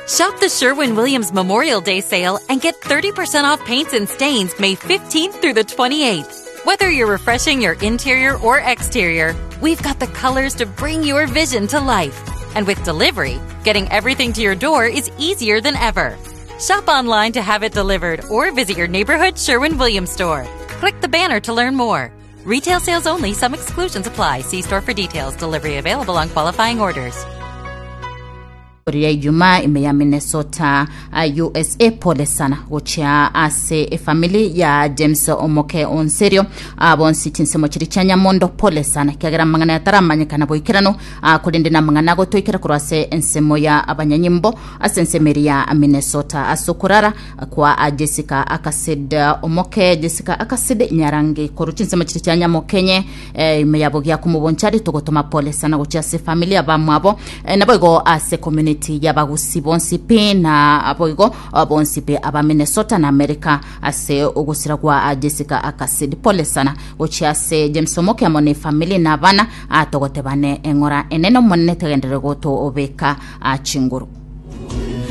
Shop the Sherwin Williams Memorial Day sale and get 30% off paints and stains May 15th through the 28th. Whether you're refreshing your interior or exterior, we've got the colors to bring your vision to life. And with delivery, getting everything to your door is easier than ever. Shop online to have it delivered or visit your neighborhood Sherwin Williams store. Click the banner to learn more. Retail sales only, some exclusions apply. See store for details. Delivery available on qualifying orders. Ria Ijumaa ime ya Minnesota, USA. Pole sana gochia ase efamili ya James Omoke Onserio ah, bonsi chinsemo chiri chia Nyamondo pole sana kiagera amang'ana yataramanyekana boikeranu ah, korende namang'ana agotoikera korwa ase ensemo ya abanyanyimbo ase ensemo eri ya Minnesota ase okorara kwa ah, Jessica Akasid Omoke Jessica Akasid Nyarangi korwa chinsemo chiri chia Nyamokenye eh, ime yabo giakumobonchari togotoma pole sana gochia ase efamili abamwabo Eh, naboigo ase community y'abagusi bonsi pi na boigo ah, bonsi pi aba Minnesota na America ase ogosira kwa ah, Jessica Akasid pole sana gochia ase James Omoke amo ne family na abana ah, togotebane eng'ora enene omonene tegenderere gotobeka ah, chinguru.